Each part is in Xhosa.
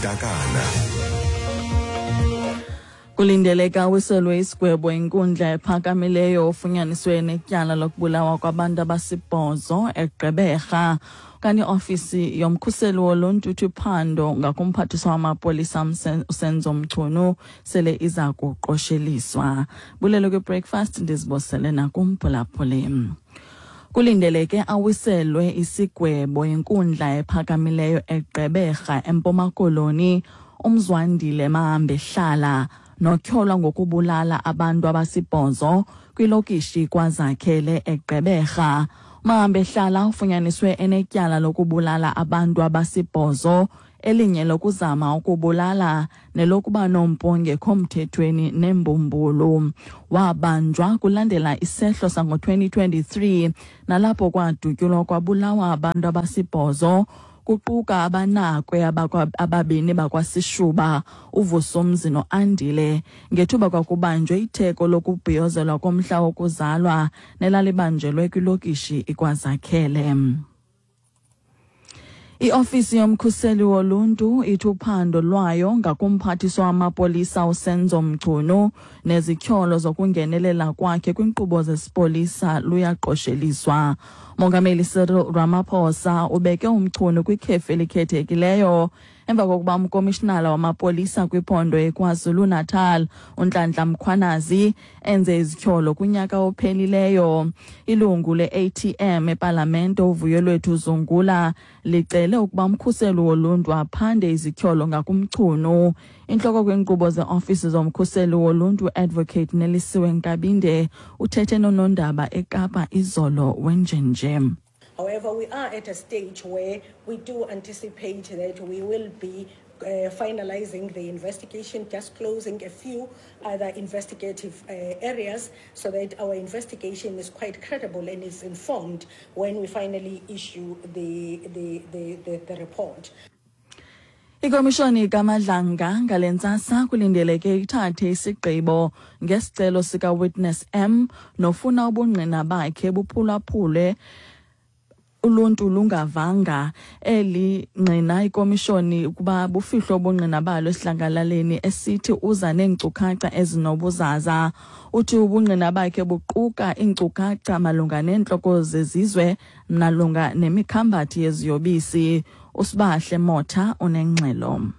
Nontakana. Kulindeleka awiselwe isigwebo inkundla ephakamileyo ofunyaniswe netyala lokubulawa kwabantu abasibhozo eGqeberha. Kanti iofisi yomkhuseli woluntu ithi uphando ngakumphathiswa wamapolisa uSenzo Mchunu sele iza kuqosheliswa. Bulelo kwi-breakfast, ndizibosele nakumphulaphuli. Kulindeleke awiselwe isigwebo inkundla ephakamileyo eGqeberha eMpuma Koloni uMzwandile Mahambehlala notyholwa ngokubulala abantu abasibhozo kwilokishi KwaZakhele eGqeberha. Mahambehlala ufunyaniswe enetyala lokubulala abantu abasibhozo, elinye lokuzama ukubulala nelokuba nompu ongekho mthethweni nembumbulu. Wabanjwa kulandela isehlo sango-2023 nalapho kwadutyulwa kwabulawa abantu abasibhozo, kuquka abanakwe ababini bakwaSishuba, uVusumzi noAndile, ngethuba kwakubanjwe itheko lokubhiyozelwa komhla wokuzalwa nelalibanjelwe kwilokishi iKwaZakhele. Iofisi yomkhuseli woluntu ithi uphando lwayo ngakumphathiswa wamapolisa uSenzo Mchunu nezityholo zokungenelela kwakhe kwinkqubo zesipolisa luyaqosheliswa. Mongameli Cyril Ramaphosa ubeke uMchunu kwikhefu elikhethekileyo emva kokuba umkomishinala wamapolisa kwiphondo eKwaZulu-Natal uNhlanhla Mkhwanazi enze izityholo kunyaka ophelileyo. Ilungu le-ATM epalamente uVuyolwethu Zungula licele ukuba umkhuseli woluntu aphande izityholo ngakuMchunu. Intloko kwiinkqubo zeofisi zomkhuseli woluntu Advocate Nelisiwe Nkabinde uthethe nonondaba eKapa izolo wenjenje. However, we are at a stage where we do anticipate that we will be finalizing the investigation, just closing a few other investigative areas so that our investigation is quite credible and is informed when we finally issue the report. Ikomishoni kaMadlanga ngale ntsasa kulindeleke ithathe isigqibo ngesicelo sika-Witness M nofuna ubungqina bakhe buphulaphule uluntu lungavanga. Eli ngqina ikomishoni ukuba bufihlwe ubungqina balo esidlangalaleni, esithi uza neenkcukacha ezinobuzaza. Uthi ubungqina bakhe buquka iinkcukacha malunga neentloko zezizwe malunga nemikhambathi yeziyobisi. USibahle Motha unengxelo.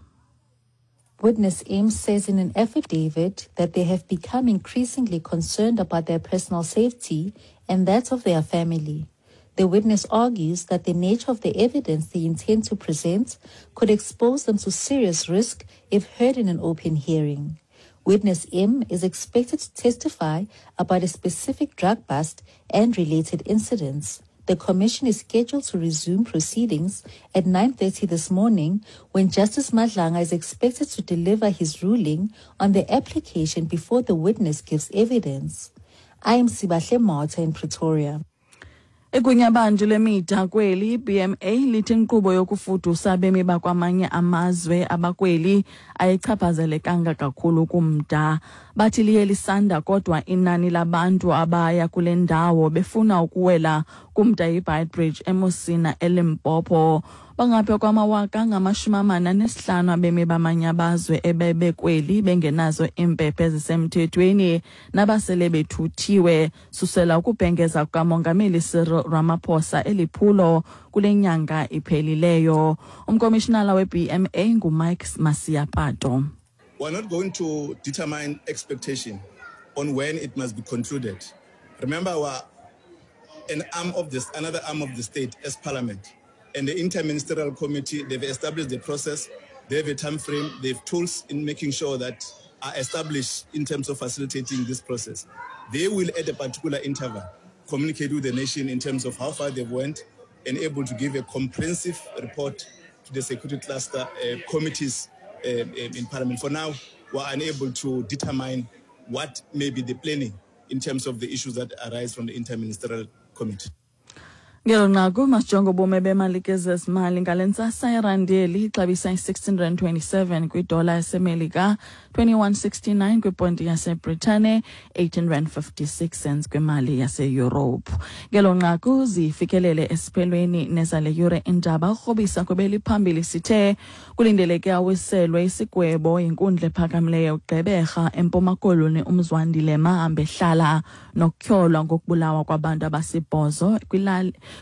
Witness M says in an affidavit that they have become increasingly concerned about their personal safety and that of their family. The witness argues that the nature of the evidence they intend to present could expose them to serious risk if heard in an open hearing. Witness M is expected to testify about a specific drug bust and related incidents. The commission is scheduled to resume proceedings at 9:30 this morning, when Justice Madlanga is expected to deliver his ruling on the application before the witness gives evidence. I am Sibahle Motha in Pretoria. Igunyabantu lemida kweli BMA lithi inkqubo yokufudusa abemi bakwamanye amazwe abakweli ayichaphazelekanga kakhulu kumda. Bathi liye lisanda kodwa inani labantu abaya kule ndawo befuna ukuwela kumda iBeitbridge eMusina eLimpopo. Bangapha kwama-45 000 abemi bamanye amazwe ebebekweli bengenazo iimpepha ezisemthethweni nabasele bethuthiwe susela ukubhengeza kukaMongameli Cyril Ramaphosa eliphulo kule nyanga iphelileyo. Umkomishinala we-BMA nguMike Masiapato. We're not going to determine expectation on when it must be concluded. Remember, we're an arm of this, another arm of the state as parliament. And the interministerial committee, they've established the process, they have a time frame, they have tools in making sure that are established in terms of facilitating this process. They will, at a particular interval, communicate with the nation in terms of how far they've went and able to give a comprehensive report to the security cluster committees in parliament. For now, we're unable to determine what may be the planning in terms of the issues that arise from the interministerial committee. Ngelo nqaku masijonge ubume bemali kezezimali ngale ntsasa. Irandi eli ixabisa i-16 rand 27 kwidola yaseMelika, 21.69 kwiponti yaseBritane, 18 rand 56 cents kwimali yaseYurophu. Ngelo nqaku zifikelele esiphelweni nezale yure indaba. Ukrobisa kwebeliphambili sithe kulindeleke awiselwe isigwebo yinkundla ephakamileyo Gqeberha eMpuma Koloni uMzwandile Mahambehlala nokutyholwa ngokubulawa kwabantu abasibhozo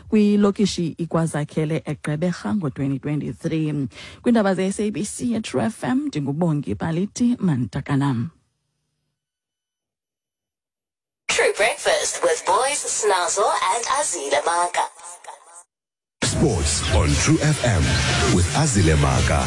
kwilokishi iKwazakhele eGqeberha ngo-2023. Kwiindaba ze-SABC yeTrue FM, ndinguBongi Baliti Mantakanam. True Breakfast with Boys, Snazzle and Azile Maka. Sports on True FM with Azile Maka.